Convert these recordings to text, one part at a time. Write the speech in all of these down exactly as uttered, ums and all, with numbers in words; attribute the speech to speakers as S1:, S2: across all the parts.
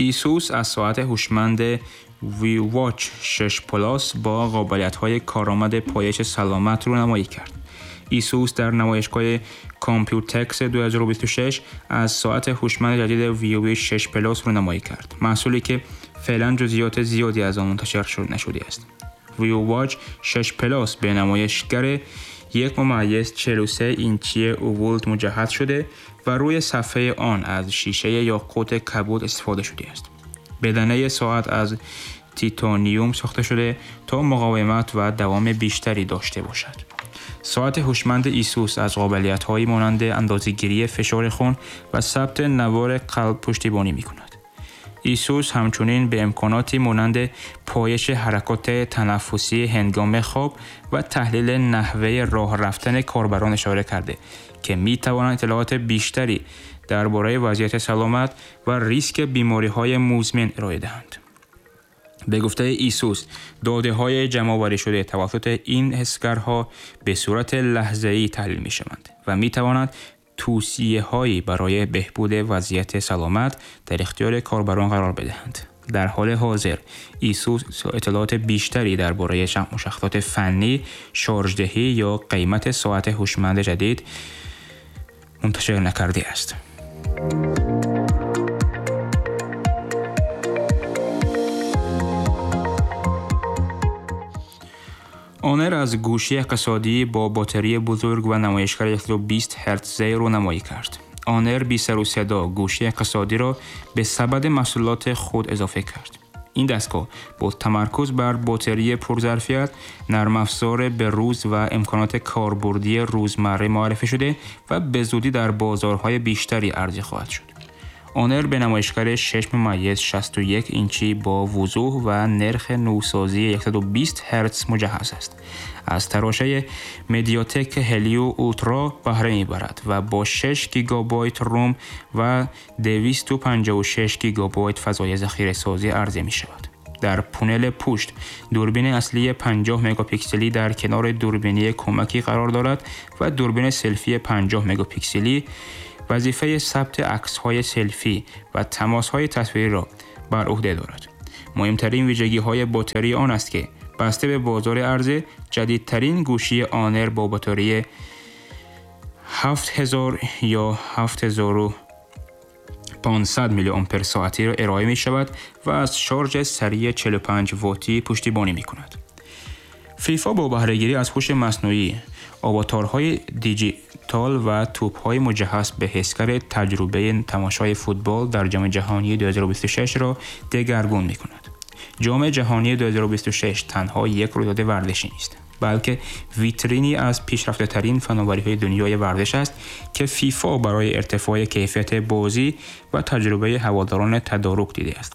S1: ایسوس از ساعت هوشمند VivoWatch شش Plus با قابلیت‌های کارآمد پایش سلامت رونمایی کرد. ایسوس در نمایشگاه Computex دو هزار و بیست و شش از ساعت هوشمند جدید VivoWatch شش Plus رونمایی کرد، محصولی که فعلا جزئیات زیادی از آن منتشر شد نشده است. VivoWatch شش Plus به نمایشگر یک ممیز چهل و سه اینچی AMOLED مجهز شده و روی صفحه آن از شیشه یاقوت کبود استفاده شده است. بدنه ساعت از تیتانیوم ساخته شده تا مقاومت و دوام بیشتری داشته باشد. ساعت هوشمند ایسوس از قابلیت‌هایی مانند اندازه‌گیری فشار خون و ثبت نوار قلب پشتیبانی می‌کند. ایسوس همچنین به امکاناتی مانند پایش حرکات تنفسی هنگام خواب و تحلیل نحوه راه رفتن کاربران اشاره کرده که می‌توانند اطلاعات بیشتری درباره وضعیت سلامت و ریسک بیماری‌های مزمن ارائه دهند. به گفته ایسوس، داده‌های جمع‌آوری شده توسط این حسگرها به صورت لحظه‌ای تحلیل می‌شوند و می‌توانند توصیه‌هایی برای بهبود وضعیت سلامت در اختیار کاربران قرار بدهند. در حال حاضر ایسوس اطلاعات بیشتری درباره مشخصات فنی، شارژدهی یا قیمت ساعت هوشمند جدید منتشر نکرده است. آنر از گوشی اقتصادی با باتری بزرگ و نمایشگر صد و بیست هرتزی رونمایی کرد. آنر بی سر و صدا گوشی اقتصادی را به سبد محصولات خود اضافه کرد. این دستگاه با تمرکز بر باتری پرظرفیت، نرم افزار به روز و امکانات کاربردی روزمره معرفی شده و به زودی در بازارهای بیشتری عرضه خواهد شد. آنر به نمایشگر شش ممیز شصت و یک اینچی با وضوح و نرخ نوسازی صد و بیست هرتز مجهز است. از تراشه MediaTek Helio Ultra بهره می‌برد و با شش گیگابایت روم و دویست و پنجاه و شش گیگابایت فضای ذخیره سازی عرضه می‌شود. در پونل پشت دوربین اصلی پنجاه مگاپیکسلی در کنار دوربینی کمکی قرار دارد و دوربین سلفی پنجاه مگاپیکسلی وظیفه ثبت عکس‌های سلفی و تماس‌های تصویری را بر عهده دارد. مهمترین ویژگی‌های باتری آن است که بسته به بازار عرضه، جدیدترین گوشی آنر با باتری هفت هزار یا هفت هزار و پانصد میلی آمپر ساعتی را ارائه می‌شود و از شارژ سریع چهل و پنج واتی پشتیبانی می‌کند. فیفا با بهره‌گیری از هوش مصنوعی، آواتارهای دیجیتال و توپ‌های مجهز به حسگر تجربه تماشای فوتبال در جام جهانی دو هزار و بیست و شش را دگرگون می‌کند. جام جهانی دو هزار و بیست و شش تنها یک رویداد ورزشی نیست، بلکه ویترینی از پیشرفته‌ترین فناوری‌های دنیای ورزش است که فیفا برای ارتفاع کیفیت بازی و تجربه هواداران تدارک دیده است.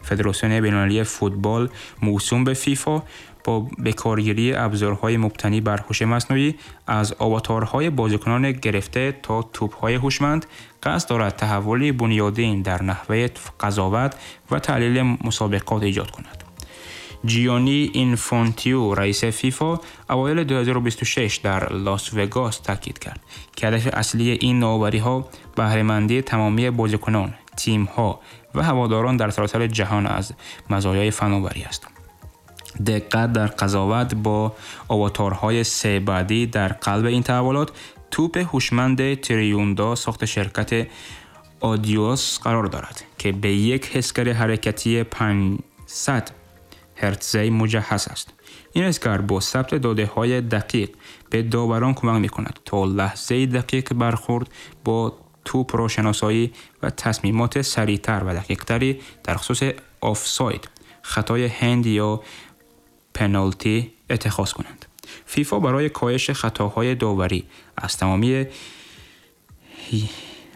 S1: فدراسیون بین‌المللی فوتبال موسوم به فیفا با بکارگیری ابزارهای مبتنی بر هوش مصنوعی از آواتارهای بازیکنان گرفته تا توپ‌های هوشمند قصد دارد تحولی بنیادین در نحوه قضاوت و تحلیل مسابقات ایجاد کند. جیانی اینفانتیو رئیس فیفا اوایل دو هزار و بیست و شش در لاس وگاس تاکید کرد که هدف اصلی این نوآوری‌ها بهره‌مندی تمامی بازیکنان، تیم‌ها و هواداران در سراسر جهان از مزایای فناوری است. دقت در قضاوت با آواتارهای سه بعدی در قلب این تحولات، توپ هوشمند تریوندا ساخت شرکت آدیوس قرار دارد که به یک حسگر حرکتی پانصد هرتزی مجهز است. این حسگر با ثبت داده‌های دقیق به داوران کمک می‌کند تا لحظه دقیق برخورد با توپ را شناسایی و تصمیمات سریعتر و دقیق‌تری در خصوص آفساید، خطای هند یا پنالتی اتخاذ کنند. فیفا برای کاهش خطاهای داوری از تمامی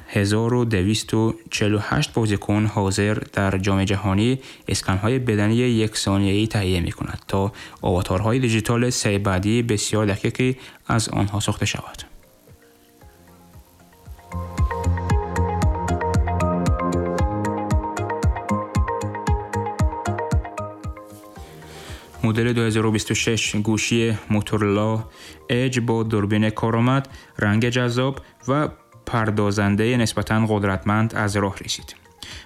S1: هزار و دویست و چهل و هشت بازیکن حاضر در جام جهانی اسکن‌های بدنی یک ثانیه‌ای تهیه می‌کند تا آواتارهای دیجیتال سه بعدی بسیار دقیقی از آنها ساخته شود. مدل دو هزار و بیست و شش گوشی موتورولا اج با دوربین کارآمد، رنگ جذاب و پردازنده نسبتاً قدرتمند از راه رسید.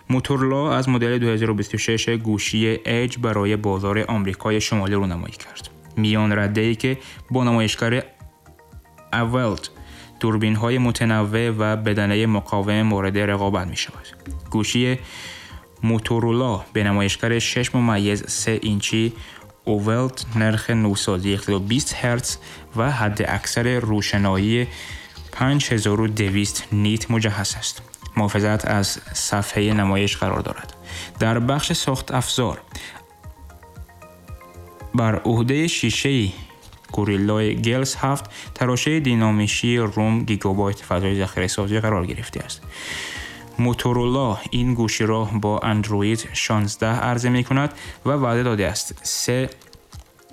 S1: موتورولا از مدل دو هزار و بیست و شش گوشی ایج برای بازار آمریکای شمالی رونمایی کرد. میان رده‌ای که با نمایشگر اولد، دوربین‌های متنوع و بدنه مقاوم مورد رقابت می‌شود. گوشی موتورولا به نمایشگر شش ممیز سه اینچی اولد، نرخ نوسازی صد و بیست هرتز و حد اکثر روشنایی پنج هزار و دویست نیت مجهز است. محافظت از صفحه نمایش قرار دارد. در بخش ساخت افزار بر عهده شیشه گوریلای گلس هفت تراشه دینامیکی روم گیگابایت فضای ذخیره سازی قرار گرفته است. موتورولا این گوشی را با اندروید شانزده عرضه می کند و وعده داده است سه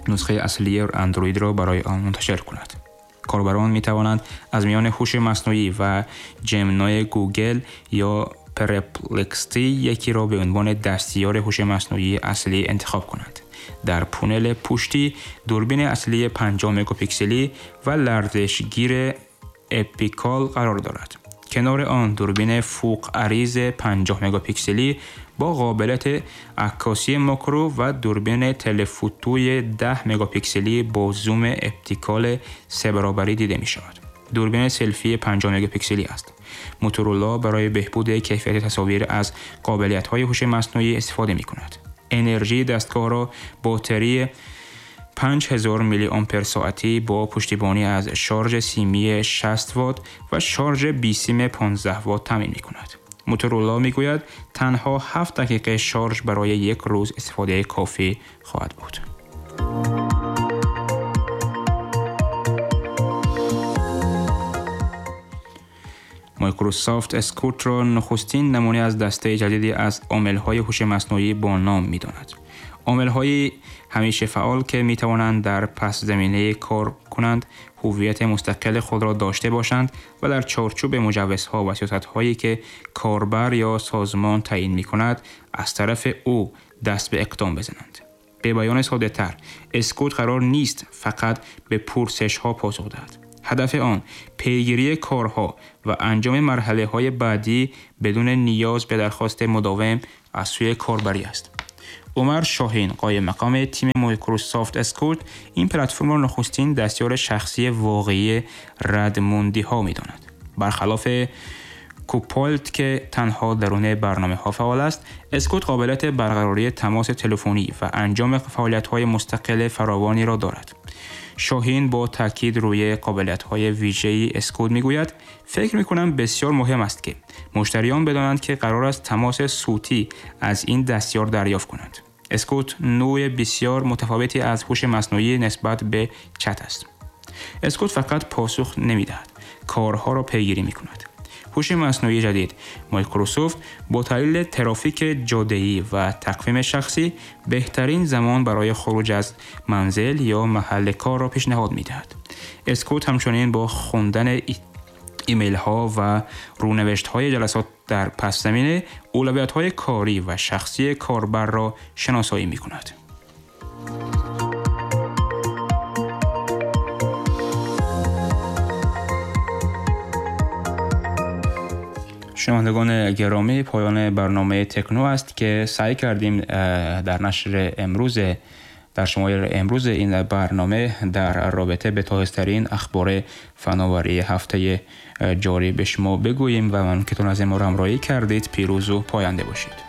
S1: نسخه اصلی اندروید را برای آن منتشر کند. کاربران می توانند از میان هوش مصنوعی و جمنای گوگل یا پرپلکسیتی یکی را به عنوان دستیار هوش مصنوعی اصلی انتخاب کنند. در پونل پشتی دوربین اصلی پنجاه مگاپیکسلی و لرزشگیر اپیکال قرار دارد. کنار آن دوربین فوق عریض پنجاه مگاپیکسلی با قابلیت عکاسی ماکرو و دوربین تلفوتوی ده مگاپیکسلی با زوم اپتیکال سه برابری دیده می شود. دوربین سلفی پنجاه مگاپیکسلی است. موتورولا برای بهبود کیفیت تصاویر از قابلیت‌های هوش مصنوعی استفاده می کند. انرژی دستگاه را باتری پنج هزار میلی آمپر ساعتی با پشتیبانی از شارژ سیمی شصت وات و شارژ بی سیم پانزده وات تامین می کند. موتورولا می گوید تنها هفت دقیقه شارژ برای یک روز استفاده کافی خواهد بود. مایکروسافت اسکوت را نخستین نمونه از دسته جدیدی از عامل‌های هوش مصنوعی با نام می‌داند. عامل‌های همیشه فعال که می‌توانند در پس زمینه کار کنند، هویت مستقل خود را داشته باشند و در چارچوب مجوزها و سیاست‌هایی که کاربر یا سازمان تعیین می‌کند، از طرف او دست به اقدام بزنند. به بیان ساده‌تر، اسکوت قرار نیست فقط به پرسش‌ها پاسخ دهد. هدف آن پیگیری کارها و انجام مرحله‌های بعدی بدون نیاز به درخواست مداوم از سوی کاربری است. عمر شاهین، قایم مقام تیم مایکروسافت اسکوت، این پلتفرم را نخستین دستیار شخصی واقعی ردموندی‌ها می‌داند. برخلاف کوپایلوت که تنها درون برنامه‌ها فعال است، اسکوت قابلیت برقراری تماس تلفنی و انجام فعالیت‌های مستقل فراوانی را دارد. شاهین با تاکید روی قابلیت‌های ویژه‌ای اسکوت می‌گوید: فکر می‌کنم بسیار مهم است که مشتریان بدانند که قرار است تماس صوتی از این دستیار دریافت کنند. اسکوت نوع بسیار متفاوتی از هوش مصنوعی نسبت به چت است. اسکوت فقط پاسخ نمی‌دهد، کارها را پیگیری می‌کند. هوش مصنوعی جدید مایکروسافت با تحلیل ترافیک جاده‌ای و تقویم شخصی بهترین زمان برای خروج از منزل یا محل کار را پیشنهاد می‌دهد. اسکوت همچنین با خواندن ایمیل ها و رونوشت های جلسات در پس زمینه اولویت های کاری و شخصی کاربر را شناسایی می کند. شنوندگان گرامی، پایان برنامه تکنو است که سعی کردیم در نشر امروز در شماره امروز این برنامه در رابطه به تازه‌ترین اخبار فناوری هفته جاری به شما بگوییم و من که تون از ما را همراهی کردید. پیروز و پاینده باشید.